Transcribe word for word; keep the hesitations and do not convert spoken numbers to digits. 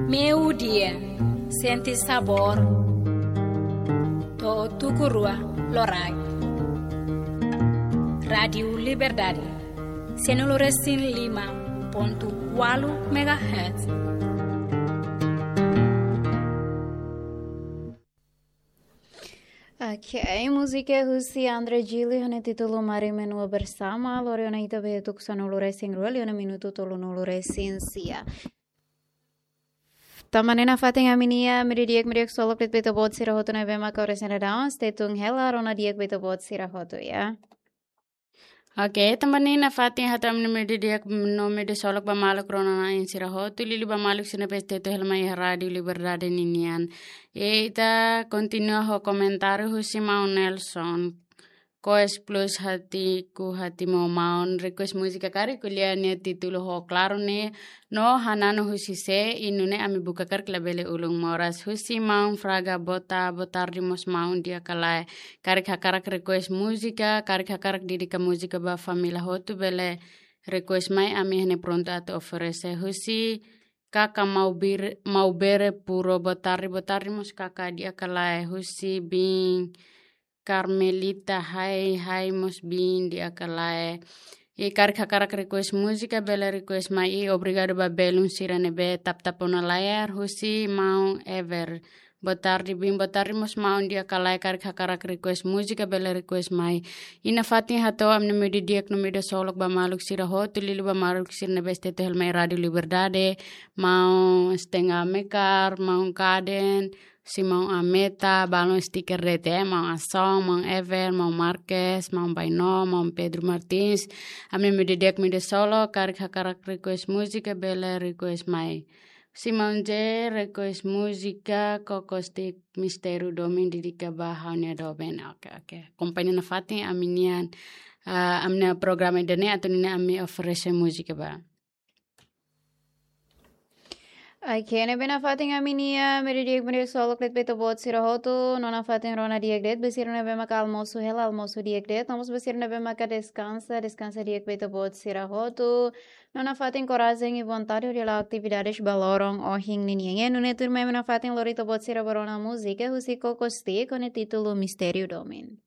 Meio-dia, sente sabor. To'o tuku rua loraik. Rádiu Liberdade, sanulu-resin-lima pontu ualu megahertz. Ok, múzika husi André Gili ho nia títulu Mari Menua Bersama, lori ona ita ba iha tuku sanulu-resin-rua, liu ona minutu tolunulu-resin-sia. Tanba ne'e nafatin ami-nia meio-dia di'ak, meio-dia ksolok de'it ba ita-boot sira hotu ne'ebé maka oras ne'e daudaun, stay tuned hela, rona di'ak ba ita-boot sira hotu, ya. Ok, tanba ne'e nafatin hato'o ami-nia meio-dia di'ak no meio-dia ksolok ba maluk rona-na'in sira hotu, liuliu ba maluk sira ne'ebé stay tuned hela mai iha Rádiu Liberdade ninian. I ita kontinua ho komentáriu husi Maun Nelson. Koes plus hatiku hati mo maun, request múzika karik ko'alia nia títulu ho klaru ne'e, no hananu husi sé, i nune'e ami buka karik labele ulun moras. Husi Maun Fraga, boa ta-, boa tarde mós maun, di'ak ka lae. Karik hakarak request múzika, karik hakarak dedika múzika ba família hotu bele request mai, ami iha ne'e prontu atu oferese. Husi Kaka Maubir-, Maubere Puro, boa tarde, boa tarde mós Kaka, di'ak ka lae. Husi biin Carmelita, hai, hai mós biin, di'ak ka lae. I karik hakarak request múzika bele request mai, i obrigadu ba belun sira ne'ebé tap-tap ona layar, husi Maun Ever. Boa tarde biin, boa tarde mós maun, di'ak ka lae, karik hakarak request múzika bele request mai. I nafatin hato'o ami-nia meio-dia di'ak no meio-dia ksolok ba maluk sira hotu, liuliu ba maluk sira ne'ebé stay tuned hela mai Rádiu Liberdade, Maun Stenga Mekar, Maun Kaden, husi Maun Ameta, balun stiker de'it, Maun Ason, Maun Ever, Maun Marques, Maun Baino, Maun Pedro Martins. Ami-nia meio-dia di'ak, meio-dia ksolok, karik hakarak request múzika bele request mai. Husi Maun J, request múzika Kokostik Mistériu Domin, dedika ba ha'u-nia doben. Ok, ok. Kompañia nafatin ami-nian, ah, ami-nia programa ida-ne'e atu nune'e ami oferese múzika ba. Ok, ne'ebé nafatin ami-nia meio-dia di'ak, meio-dia ksolok de'it ba ita-boot sira hotu, no nafatin rona di'ak de'it ba sira ne'ebé maka almosu hela, almosu di'ak de'it, no mós ba sira ne'ebé maka deskansa, deskansa di'ak ba ita-boot sira hotu. No nafatin korajen i vontade hodi hala'o atividades ba loron ohin ninian. I nune'e tuirmai ami nafatin lori ita-boot sira ba rona múzika husi Kokostik ho nia títulu Mistériu Domin.